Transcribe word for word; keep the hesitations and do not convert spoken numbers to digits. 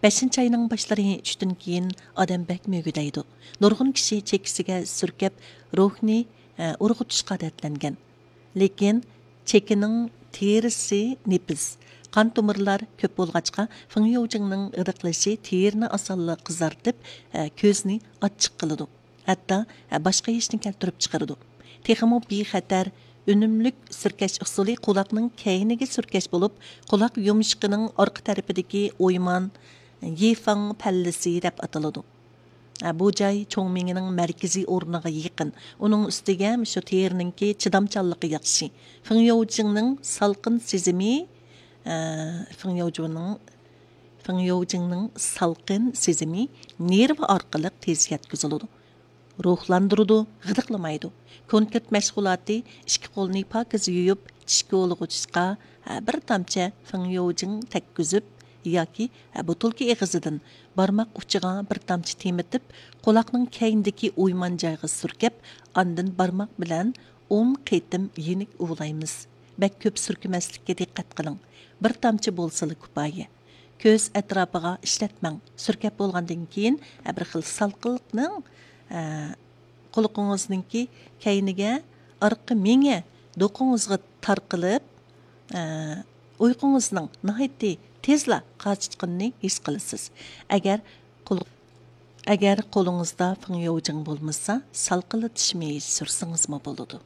بەشىنچى ئاينىڭ باشلىرى چۈشتىن كېيىن ئادەم بەك مۈگدەيدۇ. نۇرغۇن كىشى چېكىسىگە سۈركەپ، روھنى، ئە، ئۇرغۇتۇشقا ئادەتلەنگەن. لېكىن چېكىنىڭ تېرىسى نېپىز، قان تومۇرلار كۆپ بولغاچقا، فېڭيوجىڭنىڭ غىدىقلىشى تېرىنى ئاسانلا قىزارتىپ، ئە، كۆزنى ئاچچىق قىلىدۇ. ھەتتا، ئە، باشقا ھېچنى كەلتۈرۈپ چىقىرىدۇ. تېخىمۇ بىخەتەر، ئۈنۈملۈك سۈركەش ئۇسۇلى قۇلاقنىڭ كەينىگە سۈركەش بولۇپ، قۇلاق يومشىقىنىڭ ئارقا تەرىپىدىكى ئويمان يىفاڭ پەللىسى دەپ ئاتىلىدۇ. ئە، بۇ جاي چوڭ مېڭىنىڭ مەركىزىي ئورنىغا يېقىن. ئۇنىڭ ئۈستىگە شۇ تېرىنىڭكى چىدامچانلىقى ياخشى. فېڭيوجىڭنىڭ سالقىن سېزىمى، ئە، فېڭيوجىنىڭ، فېڭيوجىڭنىڭ سالقىن سېزىمى نېرۋا ئارقىلىق تېز يەتكۈزۈلىدۇ. روھلاندۇرىدۇ، غىدىقلىمايدۇ. كونكرېت مەشغۇلاتى ئىككى قولنى پاكىز يۇيۇپ، چىش كولىغۇچقا، ھە، بىر تامچە فېڭيوجىڭ تەگكۈزۈپ ياكى، ھە، بوتۇلكا ئېغىزىدىن بارماق ئۇچىغا بىر تامچە تېمىتىپ، قۇلاقنىڭ كەينىدىكى ئويمان جايغا سۈركەپ، ئاندىن بارماق بىلەن ئون قېتىم يېنىك ئۇۋىلايمىز. بەك كۆپ سۈركىمەسلىككە دىققەت قىلىڭ. بىر تامچە بولسىلا كۇپايە. كۆز ئەتراپىغا ئىشلەتمەڭ. سۈركەپ بولغاندىن كېيىن، ھە، بىر خىل سالقىنلىقنىڭ، ھە، قۇلىقىڭىزنىڭكى كەينىگە، ئارقا مېڭە دوقىڭىزغا تارقىلىپ، ئە، ئۇيقۇڭىزنىڭ ناھايىتى تېزلا قاچىتقىنىنى ھېس قىلىسىز. ئەگەر قول-، ئەگەر قولىڭىزدا فېڭيوجىڭ بولمىسا، سالقىنلىتىش مېيى سۈرسىڭىزمۇ بولىدۇ.